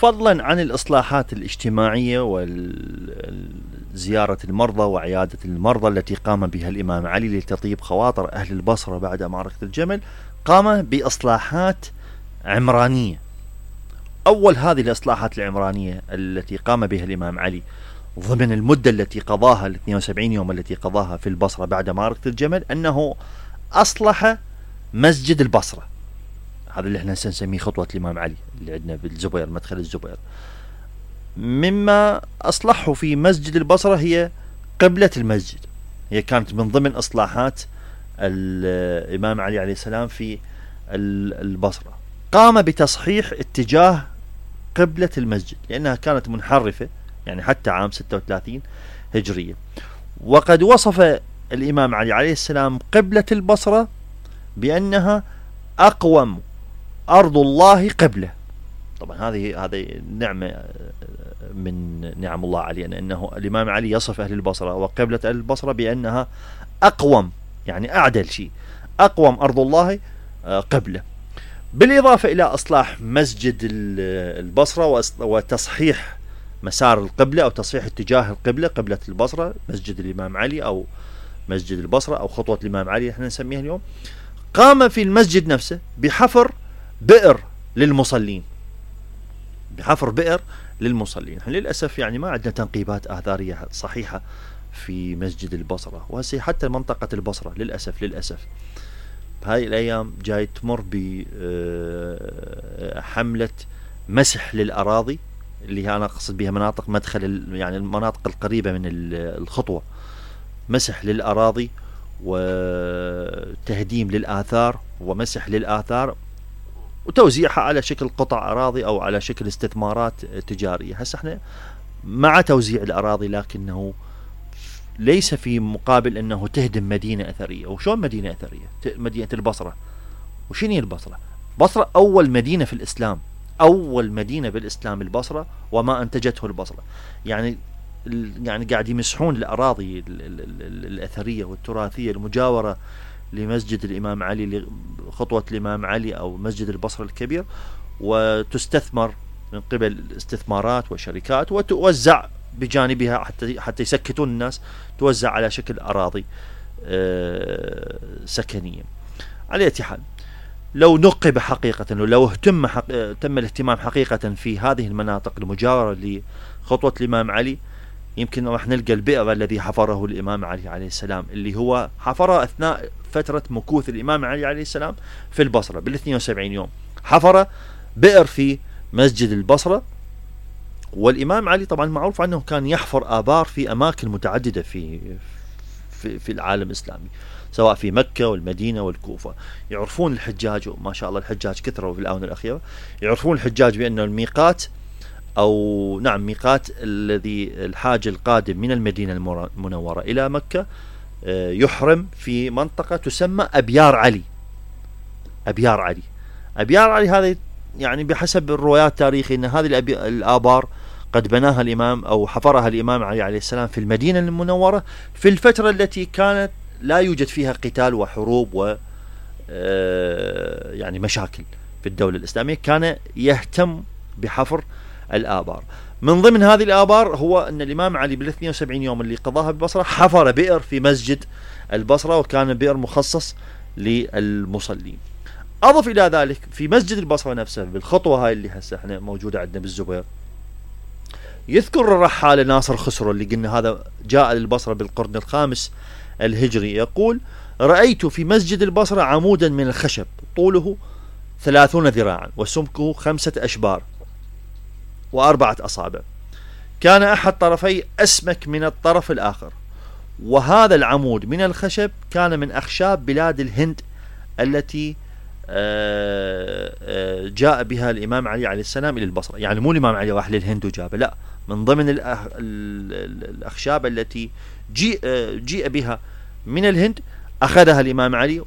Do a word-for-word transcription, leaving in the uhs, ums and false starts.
فضلا عن الإصلاحات الاجتماعية وزيارة المرضى وعيادة المرضى التي قام بها الإمام علي لتطيب خواطر أهل البصرة بعد معركة الجمل، قام بإصلاحات عمرانية. أول هذه الإصلاحات العمرانية التي قام بها الإمام علي ضمن المدة التي قضاها ال اثنين وسبعين يوم التي قضاها في البصرة بعد معركة الجمل، أنه أصلح مسجد البصرة. هذا اللي احنا نسميه خطوة الإمام علي اللي عندنا بالزبير، مدخل الزبير. مما أصلحه في مسجد البصرة هي قبلة المسجد، هي كانت من ضمن إصلاحات الإمام علي عليه السلام في البصرة. قام بتصحيح اتجاه قبلة المسجد لأنها كانت منحرفة يعني حتى عام ستة وثلاثين هجرية. وقد وصف الإمام علي عليه السلام قبلة البصرة بأنها أقوم أرض الله قبله. طبعا هذه هذه نعمة من نعم الله علينا، أنه الإمام علي يصف أهل البصرة وقبلة أهل البصرة بأنها أقوم، يعني أعدل شيء، أقوم أرض الله قبله. بالإضافة إلى إصلاح مسجد البصرة وتصحيح مسار القبلة أو تصحيح اتجاه القبلة، قبلة البصرة مسجد الإمام علي أو مسجد البصرة أو خطوة الإمام علي احنا نسميها اليوم. قام في المسجد نفسه بحفر بئر للمصلين، بحفر بئر للمصلين. للأسف يعني ما عندنا تنقيبات آثارية صحيحة في مسجد البصرة، وهسه حتى منطقة البصرة للأسف للأسف بهاي الأيام جاي تمر بحملة مسح للأراضي، اللي أنا أقصد بها مناطق مدخل يعني المناطق القريبة من الخطوة، مسح للأراضي وتهديم للآثار ومسح للآثار وتوزيعها على شكل قطع أراضي أو على شكل استثمارات تجارية. هسه احنا مع توزيع الأراضي، لكنه ليس في مقابل أنه تهدم مدينة أثرية. وشون مدينة أثرية؟ مدينة البصرة. وشنو هي البصرة؟ بصرة أول مدينة في الإسلام، أول مدينة بالإسلام البصرة وما أنتجته البصرة. يعني يعني قاعد يمسحون الأراضي الأثرية والتراثية المجاورة لمسجد الإمام علي، لخطوة الإمام علي أو مسجد البصرة الكبير، وتستثمر من قبل استثمارات وشركات وتوزع بجانبها حتى حتى يسكتون الناس، توزع على شكل أراضي سكنية. على أي حال، لو نقب حقيقة ولو اهتم حق... تم الاهتمام حقيقة في هذه المناطق المجاورة لخطوة الإمام علي، يمكن راح نلقى البئر الذي حفره الإمام علي عليه السلام، اللي هو حفره أثناء فترة مكوث الإمام علي عليه السلام في البصرة بالاثنين وسبعين يوم. حفر بئر في مسجد البصرة. والإمام علي طبعا معروف عنه كان يحفر آبار في أماكن متعددة في في, في العالم الإسلامي، سواء في مكة والمدينة والكوفة. يعرفون الحجاج، وما شاء الله الحجاج كثروا في الآونة الأخيرة، يعرفون الحجاج بأنه الميقات أو نعم ميقات الذي الحاج القادم من المدينة المنورة إلى مكة يحرم في منطقة تسمى أبيار علي. أبيار علي أبيار علي هذه يعني بحسب الروايات التاريخية أن هذه الآبار قد بناها الإمام أو حفرها الإمام علي عليه السلام في المدينة المنورة في الفترة التي كانت لا يوجد فيها قتال وحروب و يعني مشاكل في الدولة الإسلامية. كان يهتم بحفر الآبار. من ضمن هذه الآبار هو أن الإمام علي بالاثنين وسبعين يوم اللي قضاها بالبصرة حفر بئر في مسجد البصرة، وكان بئر مخصص للمصلين. أضف إلى ذلك في مسجد البصرة نفسه بالخطوة هاي اللي هسه احنا موجودة عندنا بالزبير، يذكر الرحالة ناصر خسرو اللي قلنا هذا جاء للبصرة بالقرن الخامس الهجري، يقول: رأيت في مسجد البصرة عمودا من الخشب طوله ثلاثون ذراعا وسمكه خمسة أشبار وأربعة أصابع، كان أحد طرفي أسمك من الطرف الآخر، وهذا العمود من الخشب كان من أخشاب بلاد الهند التي جاء بها الإمام علي عليه السلام إلى البصرة. يعني مو الإمام علي راح للهند وجابه، لا، من ضمن الأخشاب التي جيء, جيء بها من الهند أخذها الإمام علي